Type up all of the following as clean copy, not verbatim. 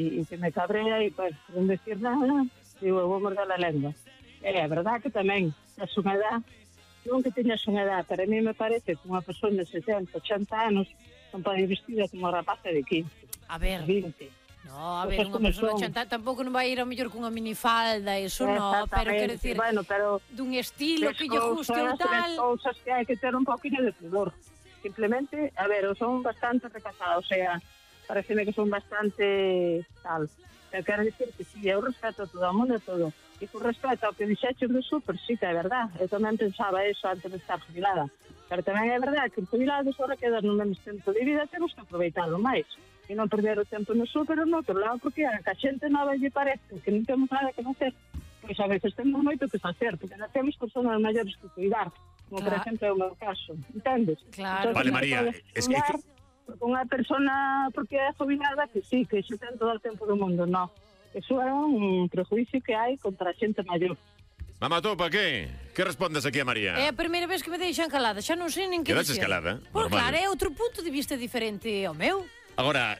E que me cabrea e, pues, non decir nada, digo, vou morder a lengua. É verdad que tamén, a súa edad, non que teñas unha edad, para mí me parece que unha persona de 70, 80 anos non pode ir vestida como unha rapaza de 15. A ver. 20. No, a ver, unha persona de 80 tampouco non vai ir ao mellor cunha minifalda, eso no, pero quero decir, bueno, pero dun estilo que lle guste ou tal. Cousas que hai que ter un poquinho de pudor. Simplemente, a ver, son bastante recasados, o sea, pareceme que son bastante tal. Eu quero dicir que si, eu respeto a todo o mundo e todo. E con respecto ao que dixeches do súper, sí que é verdad. Eu tamén pensaba eso antes de estar jubilada. Pero tamén é verdad que os jubilados ahora quedan no menos tempo de vida, temos que aproveitalo máis. E non perder o tempo no súper ou no outro lado, porque a que a xente nova lle parece que non temos nada que facer. Pois a veces temos moito que facer, porque non temos personas maiores que cuidar, como por exemplo é o meu caso, entendes? Claro. Vale, María, es que... Unha persona, porque é jubilada, que sí, que xe ten todo o tempo do mundo, no. Eso é un prejuicio que hai contra a xente maior. Mamatopa, que? Que respondes aquí a María? É a primeira vez que me deixan calada, xa non sei nin que Quedaste dixer. escalada? Por Normal. claro, é outro punto de vista diferente ao meu. Agora,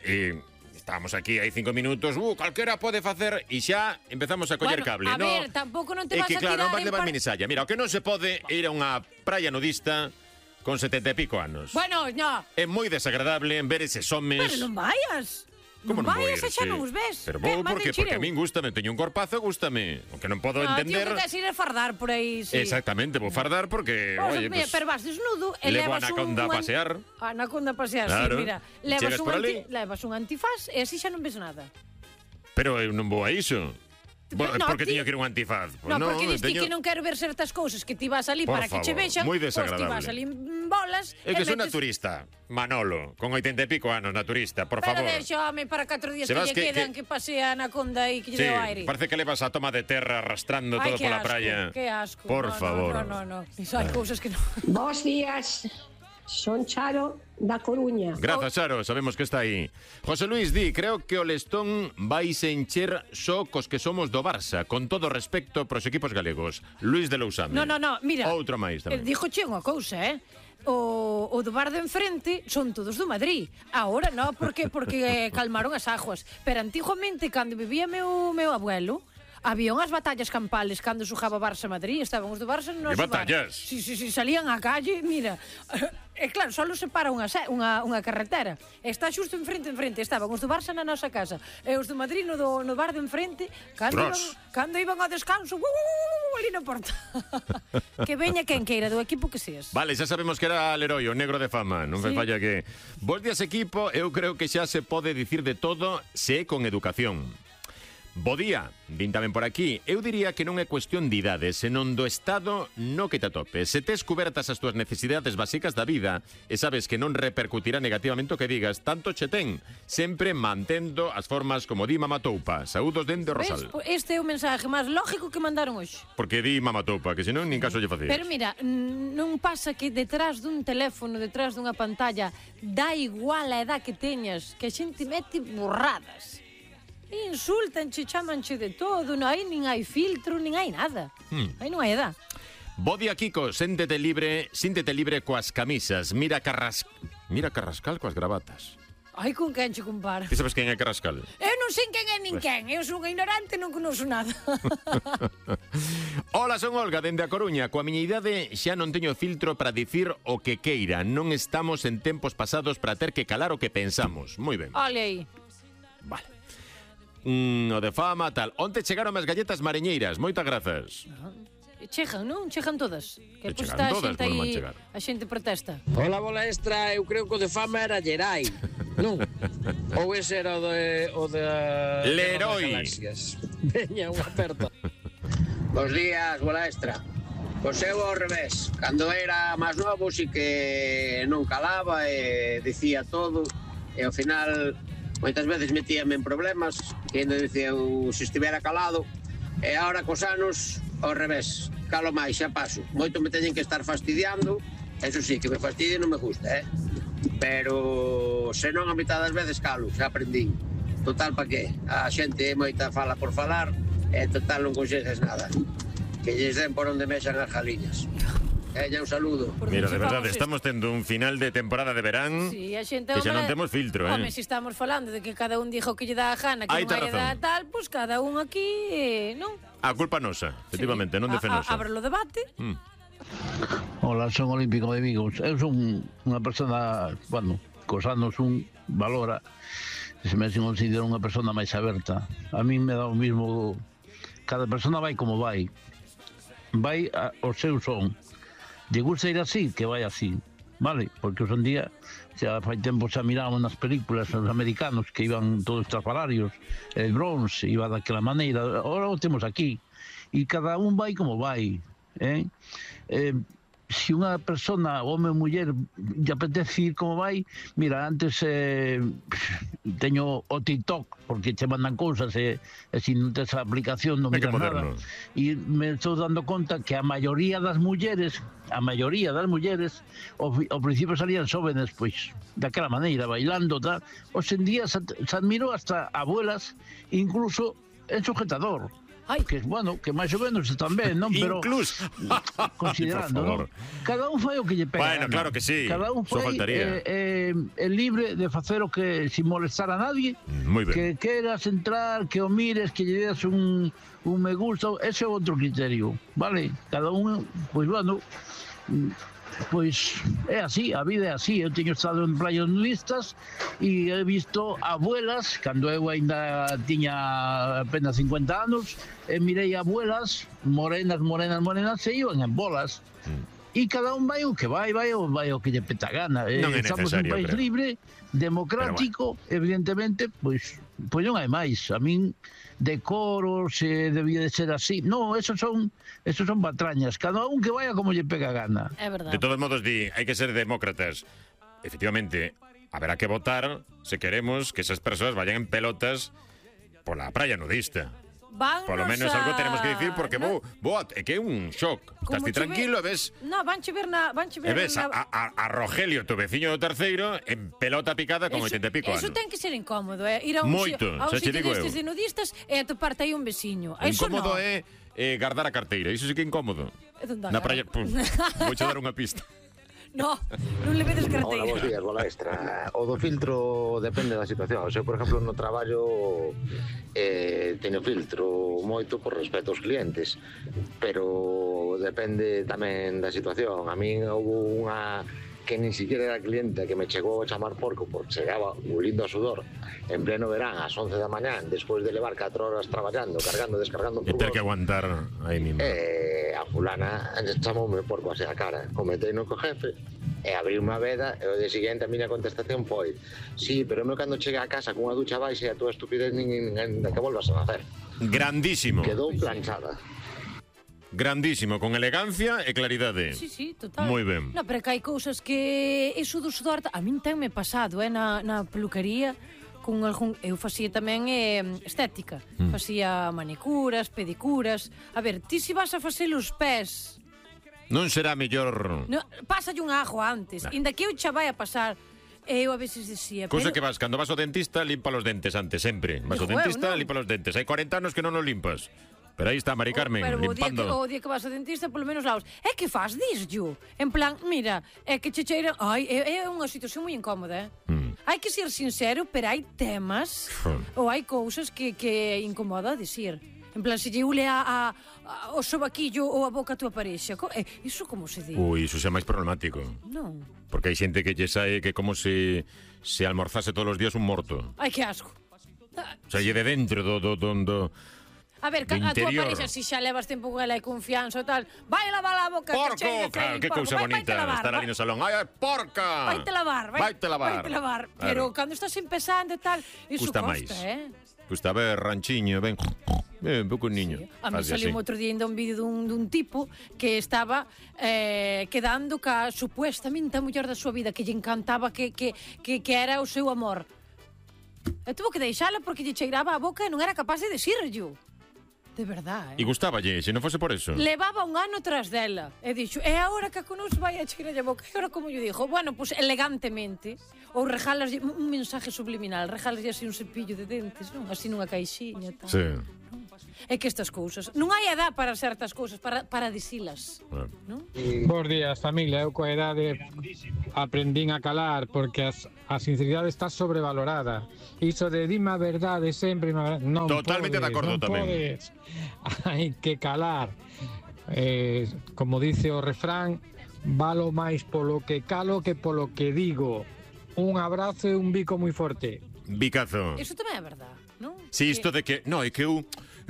estábamos aquí hai 5 minutos, calquera pode facer e xa empezamos a coller cable, a no? ver, tampouco non te É vas que a claro, tirar non vas levar minisalla. Mira, o que non se pode é ir a unha praia nudista con 70 e pico anos. Bueno, no. É moi desagradable ver eses homes. Pero non vayas. Como non non vou vayas ir, e xa sí. non os ves. Pero vou porque a min gústame, teño un corpazo, gústame. O que non podo entender... Tío, que tes ir a fardar por aí, sí. Exactamente, vou fardar porque, oye, pues, pero vas desnudo e levo levas a anaconda a pasear. Anaconda a pasear, claro. sí, mira. Levas un antifaz e así xa non ves nada. Pero eu non vou a iso. Porque tiño que ir un antifaz. Pues porque diste que non quero ver certas cousas que ti vas ali por para favor, que che vexan. moi desagradable. Ti vas ali en bolas. É que son naturista, Manolo, con 80 e pico anos, naturista, por favor. Pero deixame para 4 días que lle quedan que pase a anaconda e que lle deu aire. Parece que levas a toma de terra arrastrando todo pola praia. Que asco. Por favor. No. Iso hai cousas que non. Bos días. Son Charo da Coruña. Grazas, Charo, sabemos que está aí. José Luis di, creo que o Lestón vai se encher só cos que somos do Barça, con todo respecto pros equipos galegos. Luis de Lousame. No, mira. Outro máis tamén. Dixoche unha cousa, O do bar de enfrente son todos do Madrid. Ahora no, porque calmaron as aguas. Pero antiguamente, cando vivía meu abuelo, había unhas batallas campales cando xogaba Barça-Madrid, estaban os do Barça no noso bar. batallas? Sí, salían á calle, mira. E claro, só separa unha carretera. Está xusto enfrente, estaban os do Barça na nosa casa e os do Madrid no bar de enfrente, cando iban ao descanso, ali na porta. Que veña quen queira do equipo que seas. Vale, xa sabemos que era Leroy, o negro de fama. Non me falla que... Bos días, equipo, eu creo que xa se pode dicir de todo se é con educación. Bo día, din tamén por aquí. Eu diría que non é cuestión de idade, senón do estado no que te atopes. Se tes cubertas as túas necesidades básicas da vida e sabes que non repercutirá negativamente o que digas, tanto che ten, sempre mantendo as formas como di Mamatoupa. Saúdos dende Rosal. Este é o mensaje máis lógico que mandaron hoxe. Porque di Mamatoupa, que senón nin caso lle facías. Pero mira, non pasa que detrás dun teléfono, detrás dunha pantalla, dá igual a edad que teñas, que a xente mete burradas. Insultanche, chamanche de todo, non hai nin hai filtro, nin hai nada. Aí non hai edad. Bo día, Kiko, síntete libre coas camisas. Mira Carrascal coas gravatas. Ai, con quen che compara? Ti sabes quen é Carrascal? Eu non sei quen é nin quen. Eu son ignorante, non conozco nada. Hola, son Olga, dende a Coruña. Coa miña idade xa non teño filtro para dicir o que queira. Non estamos en tempos pasados para ter que calar o que pensamos. Moi ben. Ole aí. Vale. O de fama, tal. Onte chegaron as galletas mariñeiras. Moitas grazas. Chegan, non? Chegan todas. Que chegan está todas, a xente aí, chegar. a xente protesta. Hola, bola extra, eu creo que o de fama era Gerai, non? Ou ese era o de Leroy. Veña, unha aperta. Bos días, bola extra. Pois eu ao revés. Cando era máis novo si que non calaba e dicía todo e ao final moitas veces metíame en problemas que ainda dicía se estivera calado e agora cos anos ao revés, calo máis, xa paso. Moito me teñen que estar fastidiando, eso sí, que me fastidie non me gusta, pero se non a mitad das veces calo, xa aprendín. Total, pa que? A xente moita fala por falar e total non consegues nada. Que lles den por onde mexan as jaliñas. Ella, un saludo. Mira, de verdade, estamos tendo un final de temporada de verán Sí, a xente, que xa non temos filtro, Home, se estamos falando de que cada un dixo que lle dá a gana, que Aí non tes hai da razón. tal, pois cada un aquí, non? A culpa nosa, efectivamente, non de Fenosa. Abre o debate. Hola, son Olímpico de Vigo. Eu son unha persona, bueno, cos anos un valora, se me considero unha persona máis aberta. A mí me dá o mismo, cada persona vai como vai ao seu son. Lle gusta ir así, que vai así, vale? Porque hoxe en día, xa fai tempo xa miramos nas películas os americanos que iban todos estrafalarios, el bronze iba daquela maneira, ahora o temos aquí, e cada un vai como vai, se unha persona, home ou muller, lle apetece ir como vai, mira, antes teño o TikTok, porque che mandan cousas e se non tes a aplicación non miras nada. E me estou dando conta que a maioría das mulleres, ao principio salían xóvenes, pois, daquela maneira, bailando, tal. Hoxe en día se admiro hasta abuelas, incluso en sujetador. Que, bueno, que máis ou menos tamén, non? Pero incluso considerando, non? Cada un fai o que lle pega. Bueno, claro que sí. Cada un fai é libre de facer o que sin molestar a nadie. Moi ben. Que queras entrar, que o mires, que lle des un me gusta, ese é outro criterio, vale? Cada un, pois bueno, pois é así, a vida é así. Eu teño estado en playas nudistas e he visto abuelas, cando eu ainda tiña apenas 50 anos, e mirei abuelas morenas e iban en bolas. E cada un vai o que vai o que lle peta a gana. Non é Estamos en un necesario, país libre, democrático, evidentemente, pois non hai máis. A min decoros, debía de ser así. No, esos son patrañas. Cada un que vaya como lle pega a gana. É verdade. De todos modos, hai que ser demócratas. Efectivamente, haberá que votar se queremos que esas persoas vayan en pelotas pola praia nudista. Por lo menos algo tenemos que decir, porque é que é un shock. Estás ti tranquilo e ves... No, vanche ver E ves a Rogelio, tu veciño do terceiro, en pelota picada con 80 e pico anos. Eso ten que ser incómodo, ir a un sitio destes de nudistas e atoparte aí un veciño. Incómodo é guardar a carteira, iso sí que é incómodo. Na praia, vouche dar unha pista. No, non le vedes carteira. Hola, bons días, bola extra. O do filtro depende da situación. Eu, por exemplo, no traballo teño filtro moito por respeto aos clientes, pero depende tamén da situación. A min houve unha que nin siquiera era cliente que me chegou a chamar porco porque chegaba olindo a sudor en pleno verán ás 11 da mañán despois de levar 4 horas traballando, cargando, descargando e ter que aguantar aí mismo. A fulana chamoume porco así a cara, cometei no co jefe e abrí unha veda e o de seguinte a miña contestación foi: sí, pero eu cando chegue a casa con unha ducha baixa e a tua estupidez nin que volvas a nacer. Grandísimo. Quedou planchada. Grandísimo, con elegancia e claridade. Sí, total. Moi ben. No, pero que hai cousas que iso do sudor, a min tenme pasado, na peluquería, con algún, eu facía tamén estética. Facía manicuras, pedicuras. A ver, ti se vas a facer os pés, non será mellor... No, pásalle un ajo antes, inda que eu xa vai a pasar. Eu a veces decía... Cousa que vas, cando vas ao dentista, limpa os dentes antes, sempre. Vas ao dentista, limpa os dentes. Hai 40 anos que non os limpas. Pero aí está Mari Carmen, limpando. O día que vas ao dentista, polo menos laos. É que faz, disyo. En plan, mira, é que che cheira... Ai, é unha situación moi incómoda, Hai que ser sincero, pero hai temas ou hai cousas que incomoda dicir. En plan, se lle ule o sobaquillo ou a boca a tua parexa. Iso como se di? Ui, iso xa máis problemático. Non. Porque hai xente que lle sae que como se almorzase todos os días un morto. Ai, que asco. O sea, lle de dentro do a ver, a tua parexa, se xa levas tempo con ela e confianza e tal, vai lavar a boca. Porco, que cousa bonita estar ali no salón. Ai, porca. Vaite lavar. Pero cando estás empezando e tal, iso custa máis. Custa ver ranchiño, ben pouco niño. A mí saliu outro día ainda un vídeo dun tipo que estaba quedando ca supuestamente a muller da súa vida, que lle encantaba, que era o seu amor. E tuvo que deixala porque lle cheiraba a boca e non era capaz de decirlo. De verdade, E gustaballe, se non fose por eso. Levaba un ano tras dela. E dixo, e agora que a conos vai a cheirar a boca. E agora como yo dixo, bueno, pues elegantemente. Ou regalas un mensaje subliminal, regalas así un cepillo de dentes, non? Así nunha caixiña, tal. Sí. É que estas cousas, non hai edad para certas cousas, para dicilas, non? Bos días, familia. Eu coa edade aprendín a calar porque a sinceridade está sobrevalorada. Iso de dime a verdade sempre, non Totalmente podes, de acordo non tamén. Podes. Hai que calar. Como dice o refrán, valo máis polo que calo que polo que digo. Un abrazo e un bico moi forte. Bicazo. Iso tamén é verdad, non? Si, isto de que... No, é que eu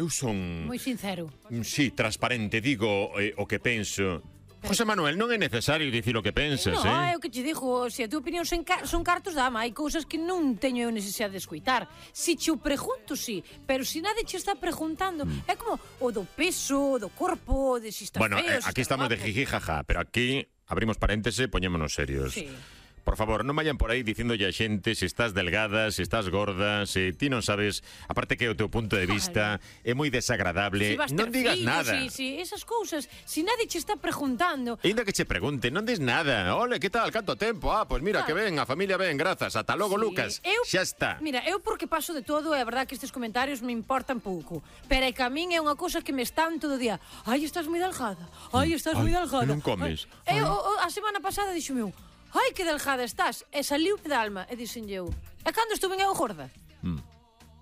son... Moi sincero. Si, transparente, digo o que penso. José Manuel, non é necesario dicir o que pensas, No, é o que te digo, se a tua opinión son cartos dama, hai cousas que non teño eu necesidade de escoitar. Si che o pregunto, sí, pero si nadie che está preguntando, é como o do peso, do corpo, de si está Bueno, feo, aquí estamos de jiji jaja, pero aquí abrimos paréntese, poñémonos serios. Sí. Por favor, non vayan por aí dicíndolle a xente se estás delgada, se estás gorda, se ti non sabes, aparte que o teu punto de vista é moi desagradable, Si non digas fillos, nada. Si, esas cousas, si nadie che está preguntando. E ainda que che pregunte, non des nada. Ole, que tal, canto tempo? Pois mira, que ben, a familia ben, grazas. Ata logo, Sí. Lucas. Xa está. Mira, eu porque paso de todo, é verdad que estes comentarios me importan pouco, pero é que a min é unha cousa que me están todo o día. Ai, estás moi delgada. Ai, estás moi delgada. Non comes. A semana pasada dixo meu, ai, que delgada estás. E saliu de alma. E dixenlle eu, e cando estuve eu gorda?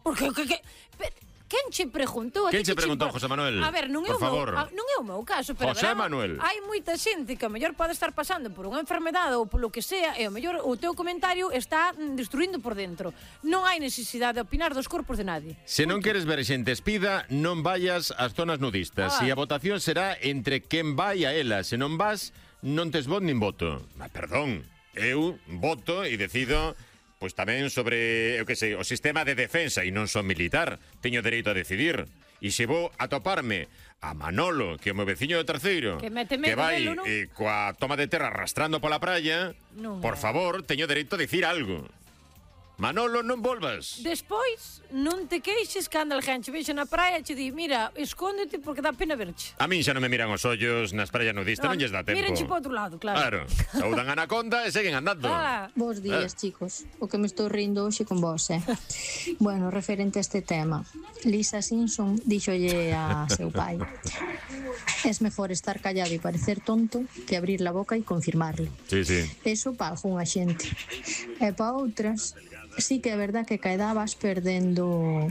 Porque, quen che preguntou? Quen che preguntou, José Manuel? A ver, non é Por favor. Non é o meu caso, pero José verán, Manuel. hai moita xente que a mellor pode estar pasando por unha enfermedade ou polo que sea, e o mellor o teu comentario está destruindo por dentro. Non hai necesidade de opinar dos corpos de nadie. Se non queres ver xente espida, non vayas ás zonas nudistas. E a votación será entre quen vai a ela. Se non vas, non tes voto nin voto. Perdón, eu voto e decido pois tamén sobre, eu que sei, o sistema de defensa e non son militar. Teño dereito a decidir. E se vou a toparme a Manolo, que é o meu veciño do terceiro, Que mete que medo vai delo, non? coa toma de terra arrastrando pola praia, Non por é. favor, teño dereito a dicir algo. Manolo, non volvas. Despois, non te queixes cando alguén che vexe na praia e che di, mira, escóndete porque dá pena verche. A min xa non me miran os ollos nas praias nudistas, non lles dá tempo. Mírenche para outro lado, claro. Saudan a anaconda e seguen andando. Bos días, chicos. O que me estou rindo hoxe con vos, Bueno, referente a este tema, Lisa Simpson díxolle a seu pai: es mejor estar callado e parecer tonto que abrir la boca e confirmarlo. Sí, sí. Eso para algunha xente. E para outras, sí que é verdad que caedá vas perdendo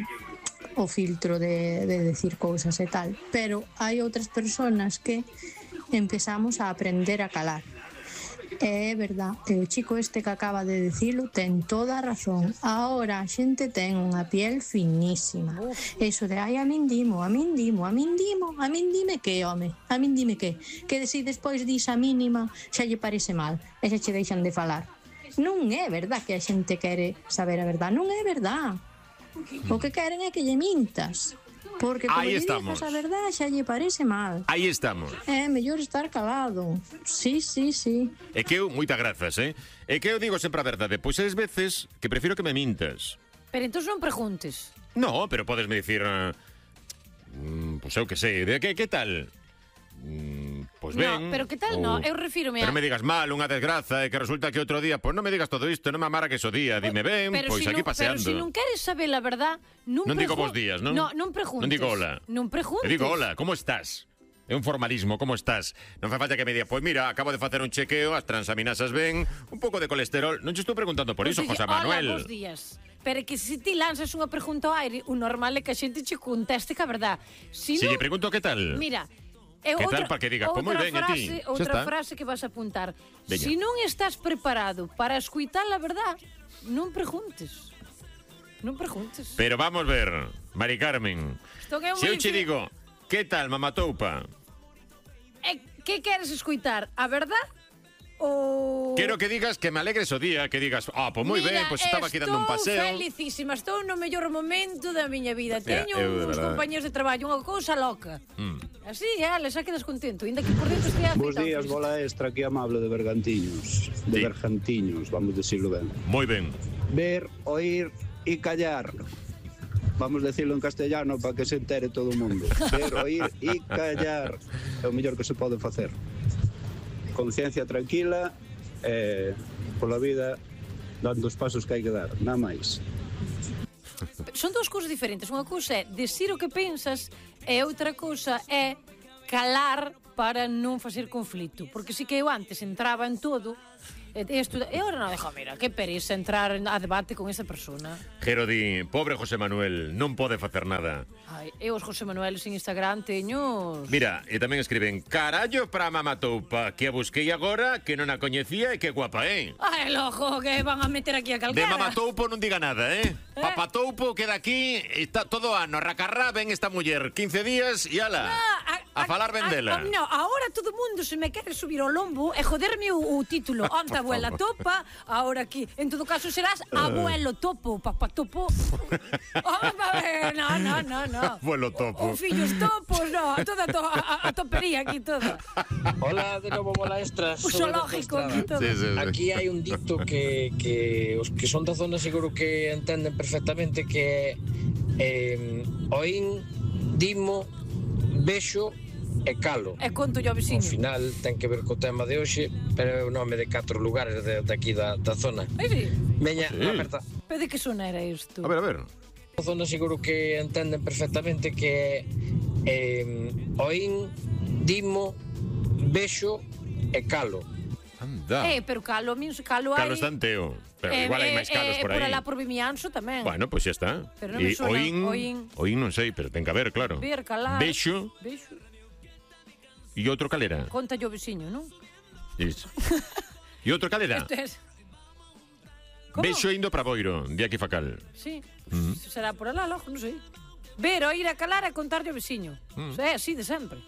o filtro de decir cousas e tal, pero hai outras persoas que empezamos a aprender a calar. É verdad, e o chico este que acaba de dicilo ten toda a razón. Ahora a xente ten unha piel finísima. Eso de, ai, a min dime que, home, a min dime que se despois dis a mínima xa lle parece mal e xa che deixan de falar. Non é verdad que a xente quere saber a verdad, non é verdad. O que queren é que lle mintas. Porque como lle digas a verdad xa lle parece mal. Aí estamos. É mellor estar calado. Sí. É que eu, moitas grazas, É que eu digo sempre a verdade, pois es veces que prefiro que me mintas. Pero entón non preguntes. No, pero podesme dicir, pois eu que sei, de que tal? Pois ben. No, pero que tal, no, eu refírome a... Pero me digas mal, unha desgraza, e que resulta que outro día, pois non me digas todo isto, non me amara que o día, dime ben, pois aquí paseando. Pero se non queres saber a verdad, non digo bons días, non? Non preguntes. Non digo hola. Non preguntes. Eu digo hola, como estás? É un formalismo, como estás? Non fa falta que me diga, pois mira, acabo de facer un chequeo, as transaminasas ben, un pouco de colesterol. Non te estou preguntando por iso, José Manuel. Hola, bons días. Pero que se ti lanzas unha pregunta ao aire, o normal é que a xente che conteste que a verdad. Se lle pregunto que tal? Mira, que tal para que digas, pois moi ben, e ti? Outra frase que vas a apuntar. Veña. Se non estás preparado para escuitar a verdad, non preguntes. Non preguntes. Pero vamos ver, Mari Carmen. Se eu che digo, que tal, mamatoupa? Que queres escuitar? A verdad? O... Quero que digas que me alegres o día, que digas, pois moi ben, pois estaba aquí dando un paseo. Estou felicísima, estou no mellor momento da miña vida. Teño uns compañeros de traballo, unha cousa loca. Así, xa quedas contento, ainda que por dentro estea afeitado. Bos días, bola extra, aquí amable de Bergantiños, de Bergantiños, vamos decirlo ben. Moi ben. Ver, oír e callar. Vamos decirlo en castellano para que se entere todo o mundo. Ver, oír e callar é o mellor que se pode facer. Conciencia tranquila, pola vida dando os pasos que hai que dar, nada máis. son dous cousas diferentes. Unha cousa é decir o que pensas e outra cousa é calar para non facer conflito. Porque si que eu antes entraba en todo e ahora non, mira, que pereza entrar a debate con esa persona. Jero di, pobre José Manuel, non pode facer nada. Ai, eu os José Manuel sin Instagram teños... Mira, e tamén escriben, carallo pra mamatoupa, que a busquei agora, que non a coñecía e que guapa, Ai, lojo, que van a meter aquí a calquera. De mamatoupo non diga nada, Papatoupo queda aquí, está todo ano, racarrá, ven esta muller, 15 días e ala, a falar ben dela. No, ahora todo mundo se me quere subir ao lombo e joderme o título. Onta abuela topa, ahora aquí. En todo caso serás abuelo topo, papatopo. No. Abuelo topo. O fillos topos, no. Toda a topería aquí, toda. Hola, de novo, bola extra. O zoológico aquí, todo. Sí. Aquí hai un dicto que os que son da zona seguro que entenden perfectamente, que oín, dimo, vexo e calo. E conto yo ao veciño. Ao final ten que ver co tema de hoxe, pero é o nome de 4 lugares de aquí da zona. Ai, sí. Veña, Sí. aperta. Pero de que zona era isto? A ver. A zona seguro que entenden perfectamente que oín, dimo, vexo e calo. Anda. Pero calo, a min calo hai... Calo está en Teo, pero igual hai máis calos por aí. Por alá por Vimianzo tamén. Bueno, pois xa está. Pero non me sona oín non sei, pero ten que haber, claro. Ver, calar. Vexo. E outro calera. Conta yo veciño, non? Iso. E outro calera. Isto es... Vexo indo para Boiro, de aquí Facal. Sí, será por alá, logo, non sei. Ver, oír a calar e contar yo veciño. É así de sempre.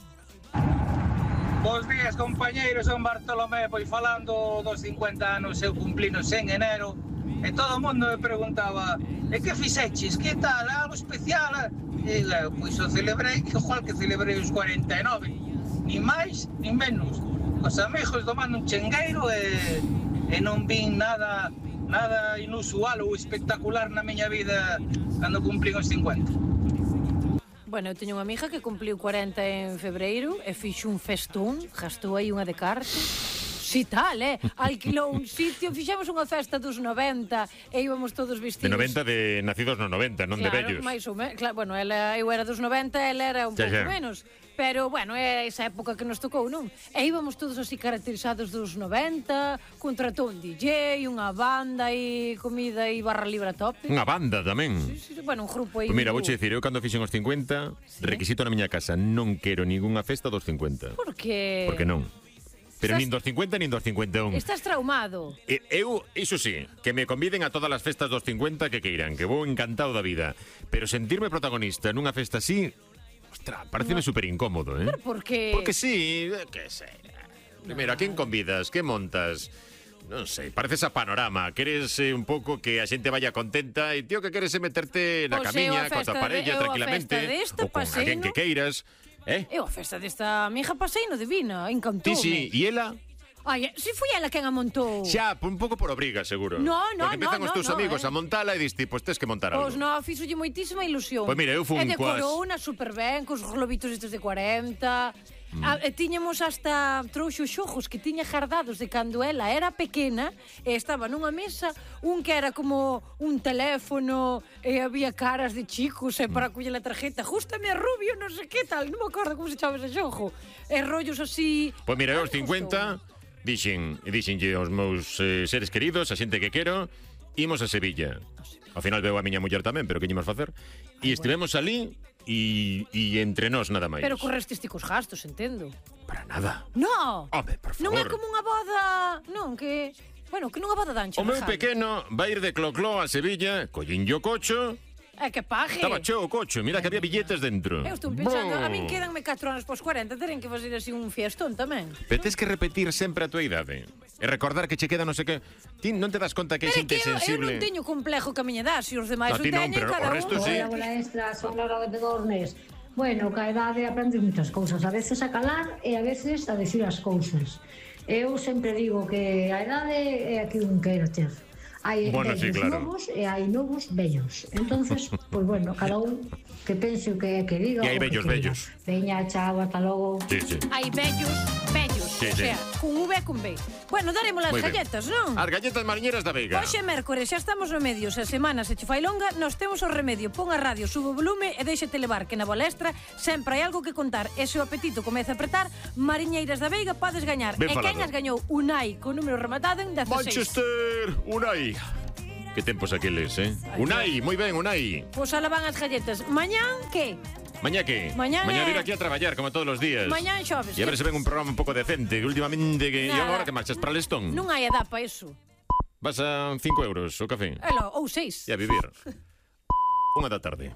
Bos días, compañeiros, son Bartolomé. Pois falando dos 50 anos, eu cumplinos en enero, e todo o mundo me preguntaba: e que fixeches? Que tal? Algo especial? E eu, pois o celebrei igual que celebrei os 49, ni máis ni menos. Os amigos tomando un chengueiro e non vin nada inusual ou espectacular na miña vida cando cumplín os 50. Bueno, eu teño unha amiga que cumpliu 40 en febreiro e fixo un festón, gastou aí unha de cartas. Si tal, alquilou un sitio, fixemos unha festa dos 90 e íbamos todos vestidos. De 90 de nacidos no 90, non de vellos. Máis ou menos, claro, bueno, eu era dos 90, ela era un pouco menos. Pero, bueno, é esa época que nos tocou, non? E íbamos todos así caracterizados dos 90, contratou un DJ, unha banda e comida e barra libre a tope. Unha banda tamén. Sí, bueno, un grupo aí. Pues mira, vouche dicir, eu cando fixen os 50, requisito na miña casa, non quero ningunha festa dos 50. Por que? Porque non. Pero nin dos 50 nin dos 51. Estás traumado. Eu, iso sí, que me conviden a todas as festas dos 50 que queiran, que vou encantado da vida. Pero sentirme protagonista nunha festa así, ostras, pareceme super incómodo, Pero por que? Porque sí, que sei. Primeiro, a quen convidas? Que montas? Non sei, pareces a Panorama. Queres un pouco que a xente vaya contenta e tío que queres meterte na camiña coa tua parella tranquilamente ou con alguén que queiras. Eu a festa desta amiga paseino divina, encantoume. Sí, e ela? Ai, si foi ela quen a montou. Xa, un pouco por obriga, seguro. Porque empezan os teus amigos a montala e diste, pois tes que montar algo. Pois non, fixolle moitísima ilusión. Pois mira, eu fun coas... E decorou unha super ben, cos globitos estes de 40... E tiñamos hasta trouxos xojos que tiña gardados de cando ela era pequena e estaba nunha mesa un que era como un teléfono e había caras de chicos e para coller a tarjeta justame a rubio, non sei que tal, non me acordo como se chama ese xojo e rollos así. Pois mira, eu aos 50 dixenlle aos meus seres queridos, a xente que quero, imos a Sevilla. Ao final veo a miña muller tamén, pero que ímos facer? E estivemos ali e entre nós nada máis. Pero correstes ti cos gastos, entendo. Para nada. No. Home, por favor. Non é como unha boda, non, que... Bueno, que nunha boda dancha. O meu pequeno vai ir de clocló a Sevilla, collinlle o cocho... É que pague. Estaba cheo o cocho, mira que había billetes dentro. Eu estou pensando, a min quedanme 4 anos pos 40, teren que fazer así un fiestón tamén. Pero tens que repetir sempre a tua idade. E recordar que che queda non sei que... Ti non te das conta que hai xente sensible. Eu non teño complejo que a miña edad, se os demais o teñen, cada un. Hola, bola extra, son Laura de Dornes. Bueno, ca edade aprendes moitas cousas, a veces a calar e a veces a decir as cousas. Eu sempre digo que a edade é a que un queira ter. Hai vellos novos e hai novos vellos. Entonces, pues bueno, cada un que pense o que diga. E hai vellos. Veña, chao, hasta logo. Sí. Hai vellos. Sí, O sea, con V e con B. Bueno, daremos as Moi ben. galletas, non? As galletas mariñeras da Veiga. Hoxe é mércores, xa estamos no medio. Se a semana se che fai longa, nos temos o remedio. Pon a radio, sube o volume e déxate levar, que na Bolestra sempre hai algo que contar. E se o apetito comeza a apretar, mariñeiras da Veiga podes gañar. Ben E falado. quen as gañou? Unai, con número rematado en 16. Manchester, Unai. Que tempos aqueles, Unai, moi ben, Unai. Pois ala van as galletas. Mañán, que? Mañá que? Mañá vir é- aquí a traballar como todos os días. Mañán xoves. E a ver se ven un programa un pouco decente, que últimamente que Nada. e agora que marchas para Lestón. Non hai edad para eso. Vas a 5 euros o café. Elo, ou 6. E a vivir. 1 da tarde.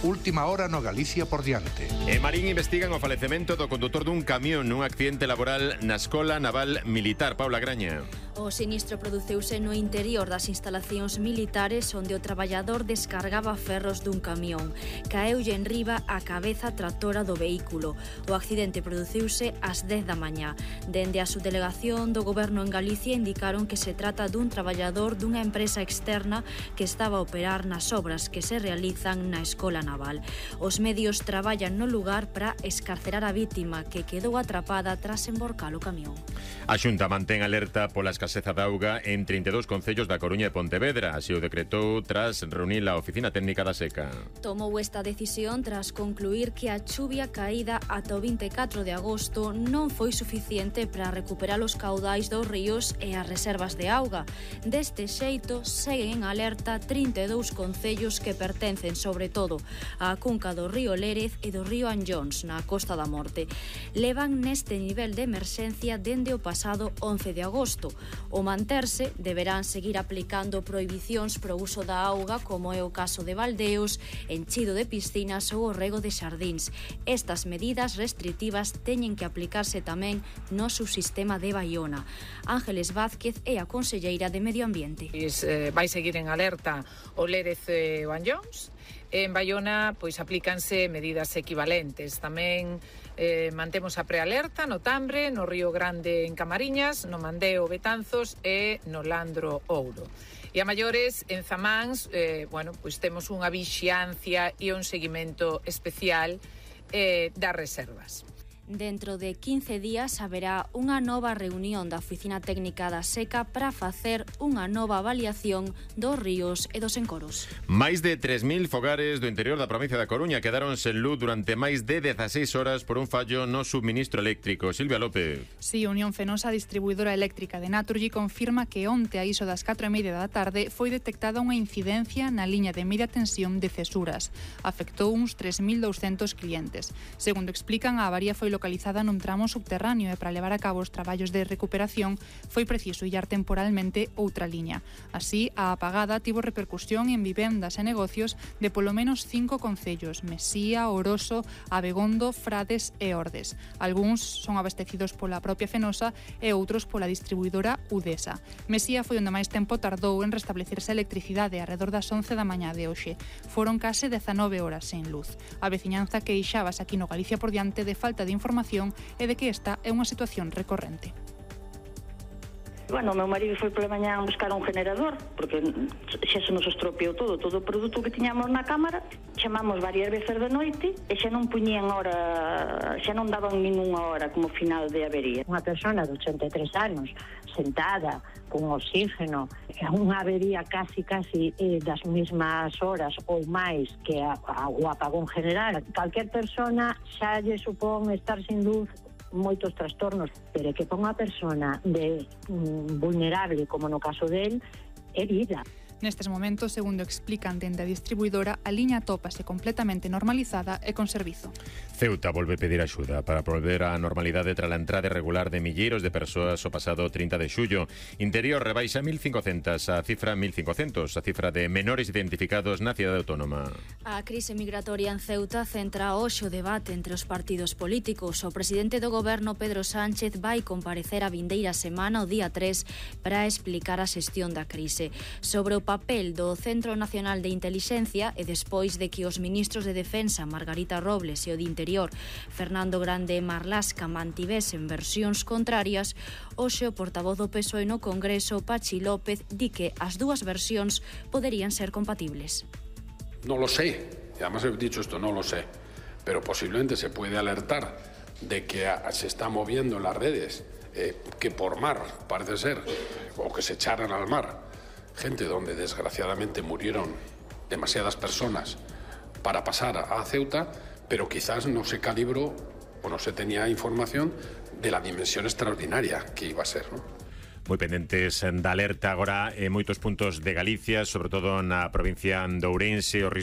Última hora no Galicia por diante. En Marín investigan o falecemento do condutor dun camión nun accidente laboral na Escola Naval Militar. Paula Graña. O sinistro produceuse no interior das instalacións militares onde o traballador descargaba ferros dun camión. Caeulle en riba a cabeza tractora do vehículo. O accidente produciuse ás 10 da mañá. Dende a subdelegación do Goberno en Galicia indicaron que se trata dun traballador dunha empresa externa que estaba a operar nas obras que se realizan na Escola Naval. Os medios traballan no lugar para escarcerar a vítima que quedou atrapada tras emborcar o camión. A Xunta mantén alerta pola escaseza de auga en 32 concellos da Coruña e Pontevedra. Así o decretou tras reunir a Oficina Técnica da Seca. Tomou esta decisión tras concluir que a chuvia caída ata o 24 de agosto non foi suficiente para recuperar os caudais dos ríos e as reservas de auga. Deste xeito, seguen en alerta 32 concellos que pertencen, sobre todo, á cunca do río Lérez e do río Anllóns, na Costa da Morte. Levan neste nivel de emerxencia dende o pasado 11 de agosto. O manterse, deberán seguir aplicando prohibicións pro uso da auga, como é o caso de baldeos, enchido de piscinas ou o rego de xardíns. Estas medidas restritivas teñen que aplicarse tamén no subsistema de Baiona. Ángeles Vázquez é a conselleira de Medio Ambiente. Vai seguir en alerta o Lérez e o Anllóns. En Baiona, pois, aplícanse medidas equivalentes. Tamén mantemos a prealerta no Tambre, no Río Grande en Camariñas, no Mandeo Betanzos e no Landro Ouro. E a maiores, en Zamáns, pois temos unha vixiancia e un seguimento especial das reservas. Dentro de 15 días haberá unha nova reunión da Oficina Técnica da Seca para facer unha nova avaliación dos ríos e dos encoros. Máis de 3.000 fogares do interior da provincia da Coruña quedaron sen luz durante máis de 16 horas por un fallo no subministro eléctrico. Silvia López. Sí, Unión Fenosa, distribuidora eléctrica de Naturgy, confirma que onte a iso das 4:30 da tarde foi detectada unha incidencia na liña de media tensión de Cesuras. Afectou uns 3.200 clientes. Segundo explican, a avaría foi localizada nun tramo subterráneo e para levar a cabo os traballos de recuperación foi preciso illar temporalmente outra liña. Así, a apagada tivo repercusión en vivendas e negocios de polo menos 5 concellos: Mesía, Oroso, Abegondo, Frades e Ordes. Algúns son abastecidos pola propia Fenosa e outros pola distribuidora Udesa. Mesía foi onde máis tempo tardou en restablecerse a electricidade arredor das 11 da mañá de hoxe. Foron case 19 horas sen luz. A veciñanza queixábase aquí no Galicia por diante de falta de información e de que esta é unha situación recorrente. Bueno, o meu marido foi pola mañá a buscar un generador, porque xa se nos estropeou todo o produto que tiñamos na cámara. Chamamos varias veces de noite e xa non puñían hora, xa non daban ninguna hora como final de avería. Unha persona de 83 anos sentada con oxígeno, unha avería casi das mesmas horas ou máis que o apagón general. Calquer persona xa lle supón estar sin luz moitos trastornos, pero que para unha persona vulnerable, como no caso del, é vida. Nestes momentos, segundo explican dende a distribuidora, a liña atópase completamente normalizada e con servizo. Ceuta volve pedir axuda para volver á normalidade tras a entrada irregular de milleiros de persoas o pasado 30 de xullo. Interior rebaixa 1.500 a cifra 1.500, a cifra de menores identificados na cidade autónoma. A crise migratoria en Ceuta centra hoxe o debate entre os partidos políticos. O presidente do goberno, Pedro Sánchez, vai comparecer a vindeira semana, o día 3, para explicar a xestión da crise. Sobre o papel do Centro Nacional de Intelixencia e despois de que os ministros de Defensa, Margarita Robles, e o de Interior, Fernando Grande e Marlaska, mantivesen versións contrarias, hoxe o portavoz do PSOE no Congreso, Pachi López, di que as dúas versións poderían ser compatibles. No lo sé, y además he dicho esto, no lo sé, pero posiblemente se puede alertar de que se está moviendo en las redes, que por mar, parece ser, o que se echaran al mar, gente donde desgraciadamente murieron demasiadas personas para pasar a Ceuta, pero quizás no se calibró o no se tenía información de la dimensión extraordinaria que iba a ser, ¿no? Moi pendentes da alerta agora en moitos puntos de Galicia, sobre todo na provincia de Ourense, o risco